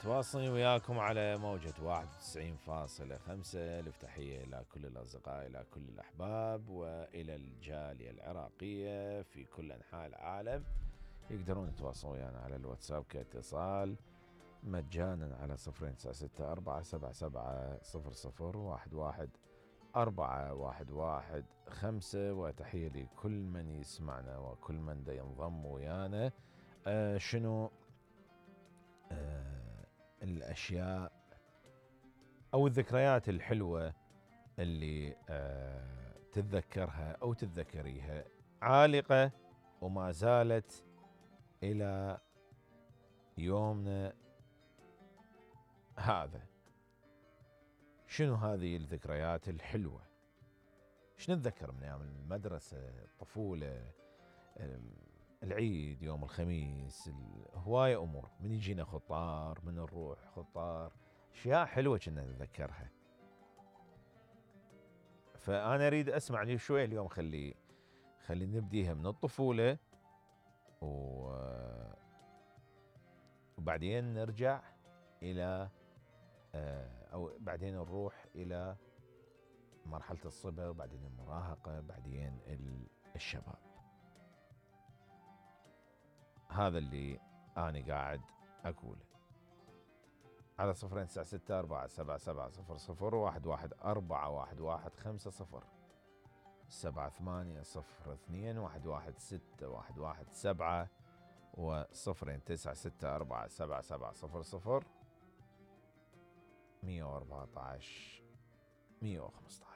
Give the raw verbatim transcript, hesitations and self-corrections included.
متواصلين وياكم على موجة واحد وتسعين فاصلة خمسة. الف تحية إلى كل الأصدقاء، إلى كل الأحباب، وإلى الجالية العراقية في كل أنحاء العالم. يقدرون يتواصلون ويانا على الواتساب كاتصال مجانا على صفرين تسعة ستة أربعة سبعة سبعة صفر صفر واحد واحد أربعة واحد واحد خمسة. وتحية لكل من يسمعنا وكل من دا ينضم ويانا. آه شنو آه الأشياء أو الذكريات الحلوة اللي آه تتذكرها أو تتذكريها عالقة وما زالت إلى يومنا هذا؟ شنو هذه الذكريات الحلوة؟ شنو نتذكر من أيام المدرسة، الطفولة، العيد، يوم الخميس، هواية أمور. من يجينا خطار، من نروح خطار، أشياء حلوة كنا نتذكرها. فأنا أريد أسمع لي شوية اليوم. خلي خلي نبديها من الطفولة و... وبعدين نرجع إلى أو بعدين نروح إلى مرحلة الصبا، وبعدين المراهقة، بعدين الشباب. هذا اللي أنا قاعد أقوله على صفرين تسعة ستة أربعة سبعة سبعة صفر صفر واحد واحد أربعة واحد واحد خمسة صفر سبعة ثمانية صفر اثنين واحد واحد ستة واحد واحد سبعة وصفرين تسعة ستة أربعة سبعة سبعة صفر صفر مية وأربعة عشر مية وخمسة عشر.